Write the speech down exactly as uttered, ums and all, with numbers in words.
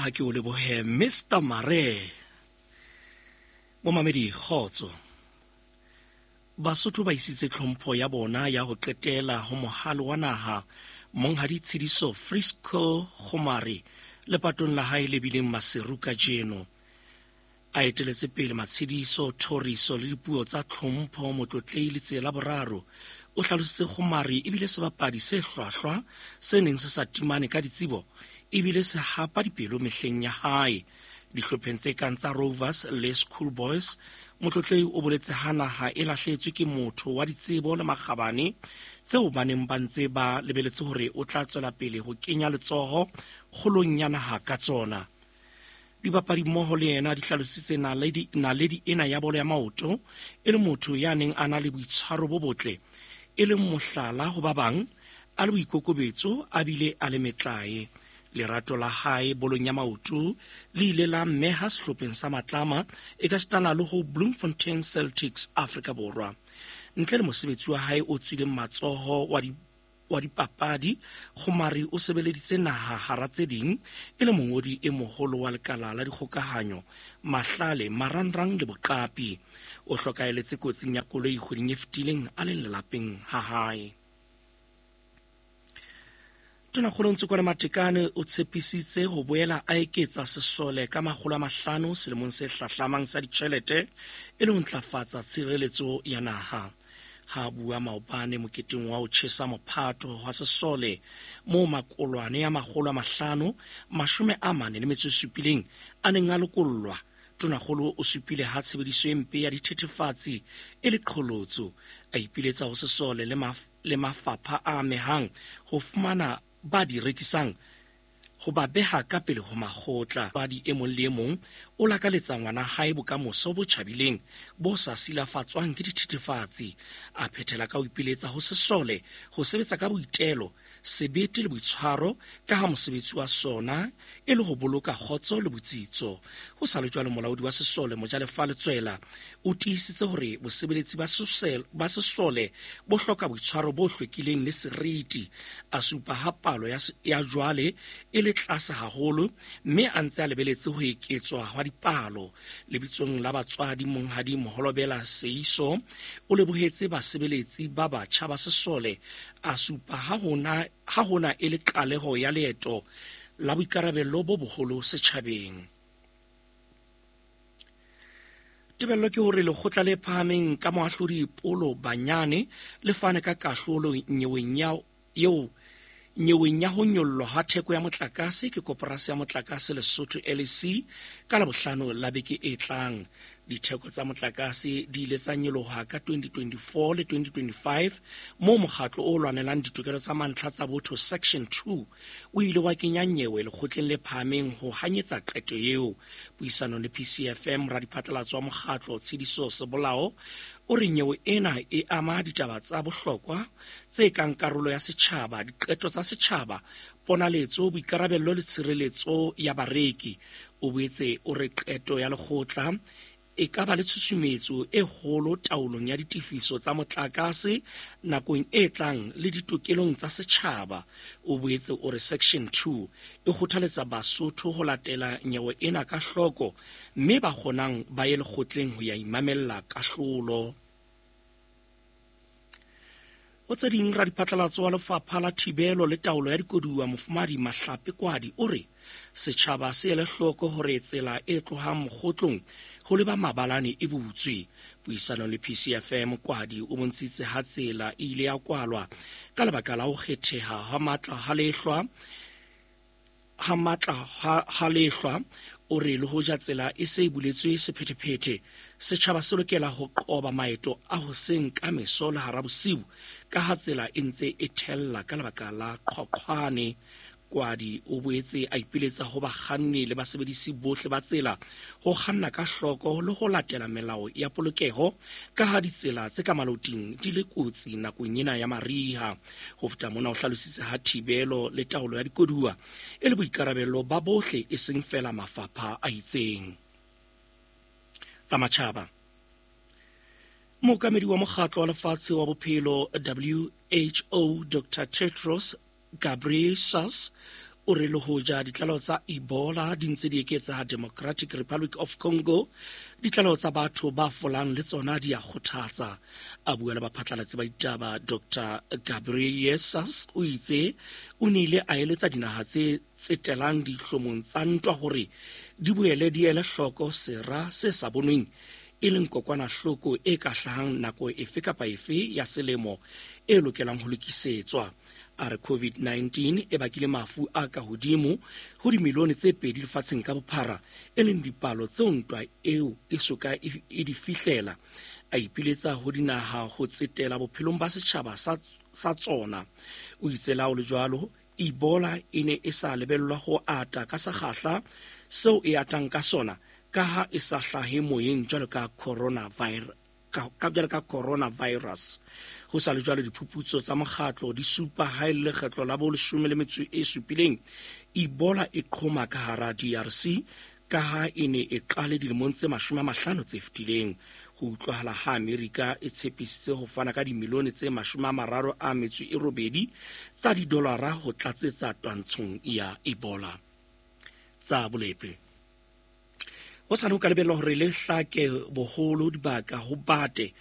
Ha ke o lebohe Mister Mare. Momamedi, kgotso. Basotho ba isitse tlhompho ya bona ya ho qetela ho mohale wa naha Monghadi Tshidiso Frisco Kgomari lepatong la hae le bileng Maseru kajeno. A eteletse pele matshediso, thoriso le dipuo tsa tlhompho Motlotlei Letsela Boraro o hlalositse Kgomari ebile sebapadi se hlwahlwa se neng se sa timane ka ditsebo ebile se hapa dipelo mehleng ya hae. Dihlopheng tse kang tsa Rovers le Schoolboys, Motlotlei o boletse ha naha e lahlehetswe ke motho wa ditsebo le makgabane tseo ba neng ba ntse ba lebeletse hore o tla tswela pele ho kenya letsoho kgolong ya naha ka tsona. Dibapadi mmoho le yena di hlalositse naledi, naledi ena ya bolo ya maoto e le motho ya neng a na le boitshwaro bo botle, e leng mohlala ho ba bang, a le boikokobetso a bile a le metlae. Lerato la hae bolong ya maoto le ile la mmeha sehlopheng sa Matlama e ka sitana le ho Bloemfontein Celtics Afrika Borwa. Ntle le mosebetsi wa hae o tswileng matsoho wa di wa dipapadi, Kgomari o sebeleditse naha hara tse ding e le mongodi e moholo wa lekala la dikgokahanyo, mahlale, marangrang le boqapi. O hlokahelletse kotsing ya koloi kgweding e fetileng a le lelapeng ha hae. Tonakgolo Ntsokoane Matekane o tshepisitse ho boela a eketsa sesole ka makgolo a mahlano selemong se hlahlamang sa ditjhelete e le ho ntlafatsa tshireletso ya naha. Ha bua maobane moketeng wa ho tjhesa mophato wa sesole moo makolwane a makgolo a mahlano mashome a mane le metso e supileng a neng a lokollwa, Tonakgolo o supile ha tshebediso e mpe ya dithethefatsi e le qholotso. A ipiletsa ho sesole le maf le mafapha a amehang ho fumana ba di rekisang ho ba beha ka pele ho makgotla. Badi e mong le e mong o lakaletsa ngwana hae bokamoso bo tjhabileng bo sa silafatswang ke dithethefatsi. A phethela ka ho ipiletsa ho sesole ho sebetsa ka boitelo, sebete le boitshwaro ka ha mosebetsi wa sona e le ho boloka kgotso le botsitso. Ho sa le jwalo, molaodi wa sesole Mojalefa Letswela o tiisitse hore bosebeletsi ba sesole ba sesole bo hloka boitshwaro bo hlwekileng le seriti. A supa ha palo ya, ya jwale e le tlase haholo mme a ntse a lebeletse ho eketswa hwa dipalo. Lebitsong la batswadi, Monghadi Moholobela Seiso o lebohetse basebeletsi ba batjha ba sesole, a supa ha hona ha hona e le qaleho ya leeto la boikarabello bo boholo setjhabeng. Tebello ke hore lekgotla le phahameng ka moahlodi Polo Banyane le fane ka kahlolo nyeweng ya eo nyeweng ya ho nyollwa ha theko ya motlakase ke koporasi ya motlakase Lesotho L E C ka Labohlano la beke e tlang. Ditheko tsa motlakase di ile tsa nyoloha ka twenty twenty-four le twenty twenty-five moo mokgatlo o lwanelang ditokelo tsa mantlha tsa botho Section two o ile wa kenya nyewe lekgotleng le phahameng ho hanyetsa qeto eo. Puisanong le P C F M, radiphatlalatso wa mokgatlo Tshidiso Sebolao o re nyewe ena e ama ditaba tsa bohlokwa tse kang karolo ya setjhaba, diqeto tsa setjhaba, ponaletso, boikarabello le tshireletso ya bareki. O boetse o re qeto ya lekgotla e ka ba le tshusumetso e kgolo taolong ya ditefiso tsa motlakase nakong e tlang le ditokelong tsa setjhaba. O boetse o re Section two e kgothaletsa Basotho ho latela nyewe ena ka hloko mme ba kgonang ba ye lekgotleng ho ya imamella kahlolo. Ho tse ding, radiphatlalatso wa lefapha la thibelo le taolo ya dikoduwa Mofumadi Mahlape Kwadi o re setjhaba se ele hloko hore tsela e tlohang Mokgotlong ho leba Mabalane e butswe. Puisanong le P C F M, Kwadi o bontshitse ha tsela e ile ya kwalwa ka lebaka la ho kgetheha ha matla ha lehlwa ha matla ha lehlwa. O re le hoja tsela e se e buletswe sephethephethe, setjhaba se lokela ho qoba maeto a hoseng ka meso le hara bosiu ka ha tsela e ntse e thella ka lebaka la qhoqhwane. Kwadi o boetse a ipiletsa ho bakganni le basebedisi bohle ba tsela ho kganna ka hloko le ho latela melao ya polokeho ka ha ditsela tse ka maloting di le kotsi nakong ena ya mariha. Ho feta mona, o hlalositse ha thibelo le taolo ya dikoduwa e le boikarabello ba bohle e seng feela mafapha a itseng. Tsa matjhaba. Mookamedi wa mokgatlo wa lefatshe wa bophelo W H O Doctor Tedros Ghebreyesus O re le hoja ditlaleho tsa Ebola di ntse di eketseha Democratic Republic of Congo, ditlaleho tsa batho ba folang le tsona di a kgothatsa. A bua le baphatlalatsi ba ditaba, Doctor Ghebreyesus o itse o nile a eletsa dinaha tse tsetelang dihlomong tsa ntwa hore di boele di ele hloko sera se sa bonweng, e leng kokwanahloko e ka hlahang nako efe kapa efe ya selemo e lokelang ho lokisetswa. A re COVID nineteen e bakile mafu a ka hodimo ho dimilione tse pedi lefatsheng ka bophara, e leng dipalo tseo ntwa eo e soka e di fihlela. A ipiletsa ho dinaha ho tsetela bophelong ba setjhaba sa, sa tsona. O itse la ho le jwalo, Ebola e ne e sa lebellwa ho ata ka sekgahla seo e atang ka sona, ka ha e sa hlahe moyeng jwalo ka coronavirus. Ka, ka jwalo ka coronavirus. Ho sa le jwalo, diphuputso tsa mokgatlo di supa ha e le lekgetlo la boleshome le metso e supileng Ebola e qhoma ka hara D R C, ka ha e ne e qale dilemong tse mashome a mahlano tse fetileng. Ho utlwahala ha Amerika e tshepisitse ho fana ka dimilione tse mashome a mararo a metso e robedi tsa didolara ho tlatsetsa twantshong ya Ebola. Tsa bolepe. Ho sa ho ka lebellwa hore le hlake boholo dibaka ho bate